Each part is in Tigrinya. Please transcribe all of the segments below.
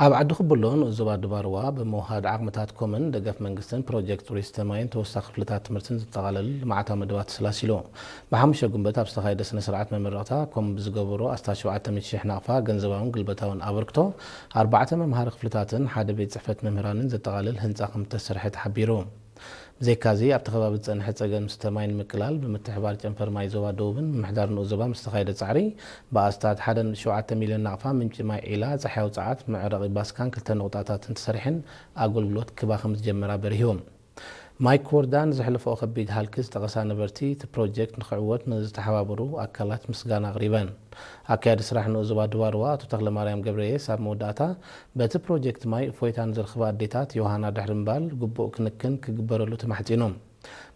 ኣብ ዓዲ ኩብሎ ንኡስ ዞባ ድባርዋ ብምውሃድ ዓቕምታት ኮምን ደገፍ መንግስትን ፕሮጀክት ቱሪስት ማይን ተወሳኺ ክፍልታት ትምህርትን ዘጠቓለል ልምዓታዊ መደባት ተሰላሲሉ። ብሓሙሽተ ጉንበት ኣብ ዝተኻየደ ስነ ስርዓት መመረቕታ ኮም ብዝገበሮ ኣስታት ሸውዓተ ሚእቲ ሺሕ ናቕፋ ገንዘባውን ግልበታውን ኣበርክቶ ኣርባዕተ መምሃሪ ክፍልታትን ሓደ ቤት ጽሕፈት መምህራንን ዘጠቓልል ህንፃ ከም ዝተሰርሐ ተሓቢሩ። ብዘይካዚ ኣብቲ ከባቢ ዝፀንሐ ፀገም ስተ ማይ ንምቅላል ብምትሕባር ጨንፈር ማይ ዞባ ደቡብን ምምሕዳር ንኡስ ዞባ ምስ ተኻየደ ፃዕሪ ብኣስታት ሓደ ነጥቢ ሸውዓተ ሚልዮን ናቕፋ ምንጪ ማይ ዒላ ፃሕያዊ ፀዓት መዕረቒ ባስካን ክልተ ነቑጣታትን ተሰሪሐን ኣገልግሎት ክባ ከም ዝጀመራ በሪሁ። ማይክ ወርዳን ዘሕለፈኦ ከቢድ ሃልኪ ዝጠቐሳ ነበርቲ፣ እቲ ፕሮጀክት ንኽዕወት ንዝተሓባበሩ ኣካላት ምስጋና ኣቕሪበን። ኣካያዲ ስራሕ ንኡስ ዞባ ድባርዋ ኣቶ ተኽለማርያም ገብረየስ ኣብ መወዳእታ፣ በቲ ፕሮጀክት ማይ እፎይታ ንዝረኽባ ኣዴታት ዮሃና ድሕሪ ምባል ግቡእ ክንክን ክግበረሉ ተማሕጺኑ።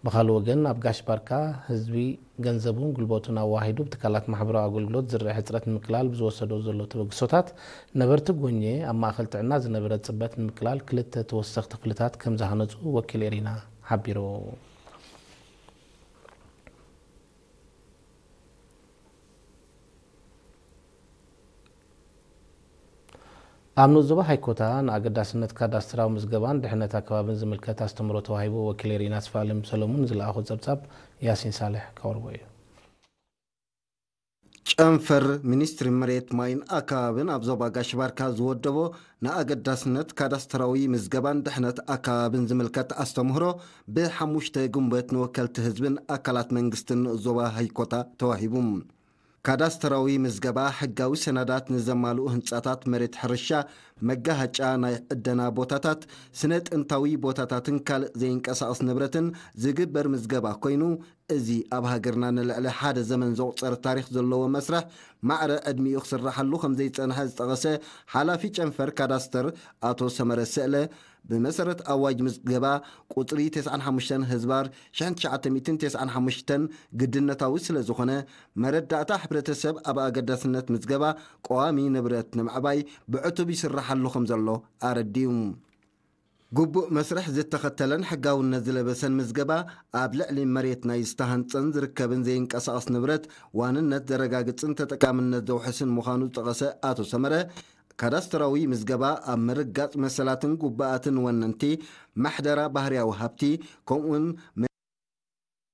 ብኻልእ ወገን፣ ኣብ ጋሽ ባርካ ህዝቢ ገንዘቡን ጉልበቱን ኣዋሂዱ ብትካላት ማሕበራዊ ኣገልግሎት ዝረአ ሕጽረት ንምቅላል ብዝወሰዶ ዘሎ ተበግሶታት፣ ነበርቲ ጎኘ ኣብ ማእከል ጥዕና ዝነበረ ጽበት ንምቅላል ክልተ ተወሰኽቲ ክፍልታት ከም ዝሃነጹ ወኪል ኤሪና ሓቢሩ። ኣብ ንኡስ ዞባ ሃይኮታ ንኣገዳስነት ካዳስትራዊ ምዝገባን ድሕነት ኣከባብን ዝምልከት ኣስተምህሮ ተዋሂቡ። ወኪል ኤሪና ስፋልም ሰለሙን ዝለኣኾ ጸብጻብ ያሲን ሳልሕ ከቕርቦ እዩ። ጨንፈር ሚኒስትሪ መሬት ማይን ኣከባብን ኣብ ዞባ ጋሽ ባርካ ዝወደቦ ንኣገዳስነት ካዳስትራዊ ምዝገባን ድሕነት ኣከባብን ዝምልከት ኣስተምህሮ ብሓሙሽተ ጉንበት ንወከልቲ ህዝብን ኣካላት መንግስትን ንኡስ ዞባ ሃይኮታ ተዋሂቡ። ካዳስተራዊ ምዝገባ ሕጋዊ ሰነዳት ንዘማልኡ ህንጻታት መሬት ሕርሻ፣ መጋሃጫ ናይ ዕደና ቦታታት፣ ስነ ጥንታዊ ቦታታትን ካልእ ዘይንቀሳቐስ ንብረትን ዝግበር ምዝገባ ኮይኑ፣ እዚ ኣብ ሃገርና ንልዕሊ ሓደ ዘመን ዘቑጸረ ታሪኽ ዘለዎ መስርሕ ማዕረ ዕድሚኡ ክስራሓሉ ከም ዘይጸንሐ ዝጠቐሰ ሓላፊ ጨንፈር ካዳስተር ኣቶ ሰመረ ስእለ፣ ብመሰረት ኣዋጅ ምዝገባ ቁጽሪ ተስዓን ሓሙሽተን ህዝባር ሽሕን ትሽዓተ ሚእትን ተስዓን ሓሙሽተን ግድነታዊ ስለ ዝኾነ፣ መረዳእታ ሕብረተሰብ ኣብ ኣገዳስነት ምዝገባ ቀዋሚ ንብረት ንምዕባይ ብዕቱብ ይስራሓሉ ከም ዘሎ ኣረዲኡ። ግቡእ መስርሕ ዝተኸተለን ሕጋውነት ዝለበሰን ምዝገባ፣ ኣብ ልዕሊ መሬት ናይ ዝተሃንጸን ዝርከብን ዘይንቀሳቐስ ንብረት ዋንነት ዘረጋግጽን ተጠቃምነት ዘውሕስን ምዃኑ ዝጠቐሰ ኣቶ ሰመረ፣ ካዳስተራዊ ምዝገባ ኣብ ምርጋጽ መሰላትን ግቡኣትን ወነንቲ፣ ምሕደራ ባህርያዊ ሃብቲ፣ ከምኡውን